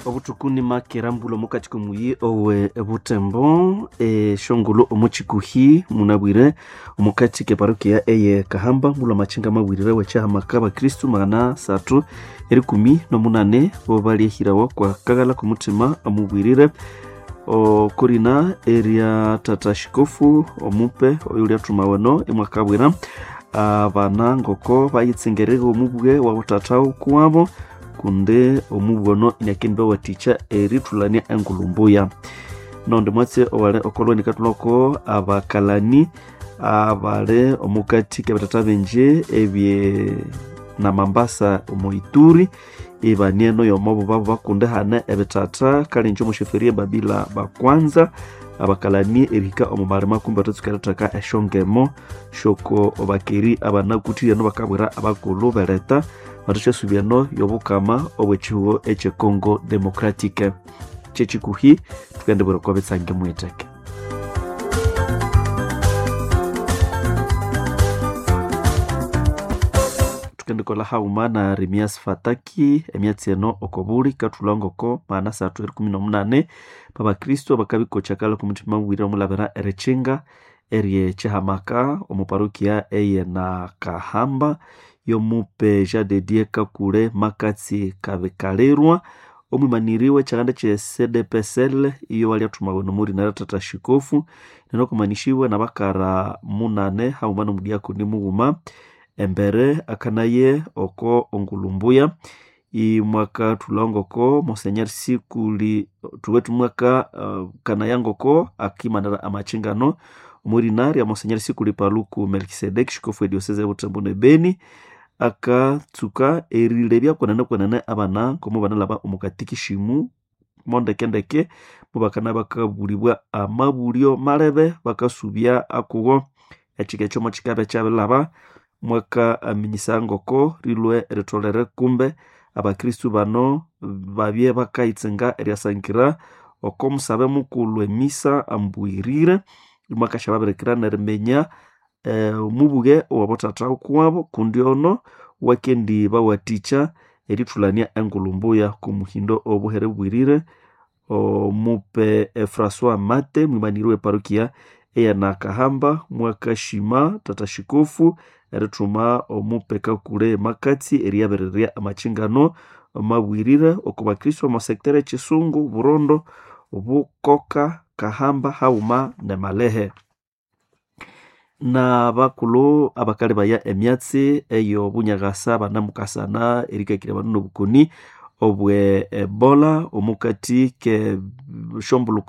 Obutuku nimakera mbulho omukati komuyi owe Butembo eshongolo omuchikuhi munabwire omukati keparokia eye Kahamba mbulho amachinga mabwirire wechahamaka abakristu 318 bo balyehirawa kwa kaghala komuthima amubwirire okorina erya tata shikofu omupe oyulyathumawa eno imwakabwira abana ngoko bayitsengerere omubwe wabo tata ukuwabo kundi omubwe ono inakendibawathikya erithulania engulhu mbuya. Nondi mwatsi owali okolweni kathulhako abakalani abali omukati kebitata bingi ebye namambasa omo Ituri ibanieno yomo bubabu bakundi hane ebitata kalinji omo sheferi Babila bakwanza abakalani erihika omo malima kumbi bathatsuka eritheka esyongemo syoko bakeri abanakuthire eno bakabwira abakulhu beretha bathasyasubya eno yobukama obwekihugho ekye Congo Democratic. Kyekikuhi thukendibwira okwa bitsange mughitheke. Thukendikolha haghuma na Remias Fataki emyatsi eno okobuli kathulha ngoko 318 babakristo abakabikokya kalha komuthima mubwire omulabira erikyinga eryekihamaka omu parokia eye Nakahamba yomupe Jean de Dieu Kakule Makatsi Kabikalirwa omwimaniri w'ekyaganda kye CDPSL iyo walyathuma nomurina rya tata shikofu nenokumanishibwa nabakara 8 haghuma nomudiakoni mughuma embere akanaye oko ongulumbuya imwakathulha ngoko Monsenyeri Sikuli thuwethu mwaka kanaya ngoko akimanira amakyingano omwirina rya Monsenyeri Sikuli Paluku Melkisedeki shikofu ediosese ya Butembo ne Beni akatsuka erilebya kwenene kwenene abana ngomo banalaba omu katikishimu mondekendeke mubakana bakabulibwa amabulyo malebe bakasubya akubo ekika ekyo mukikabe kyabilaba mwaka aminyisa ngoko rilwe eritholere kumbe abakristu bano babye bakayitsinga eryasangira oko musabe mukulhu emisa ambwirire imwakasyababirikira neriminya omubuge owabothatha ukuwabo kundi ono wakendi bawathikya erithulania engulhu mbuya kumuhindo obuhere bwirire omupe Francois Mate mwimaniri weparokia eya Nakahamba mwakashima tata shikofu erithuma omupe Kakule Makatsi eriyabirirya amakyingano mabwirire oko bakristo omo sector ekisungu Burondo Bukoka Kahamba haghuma ne Malehe. Nabakulhu abakalebaya emyatsi eyobunyakasa banamukasana erikakirya abandu nobukoni obwe Ebola omukati ke shombulukirana.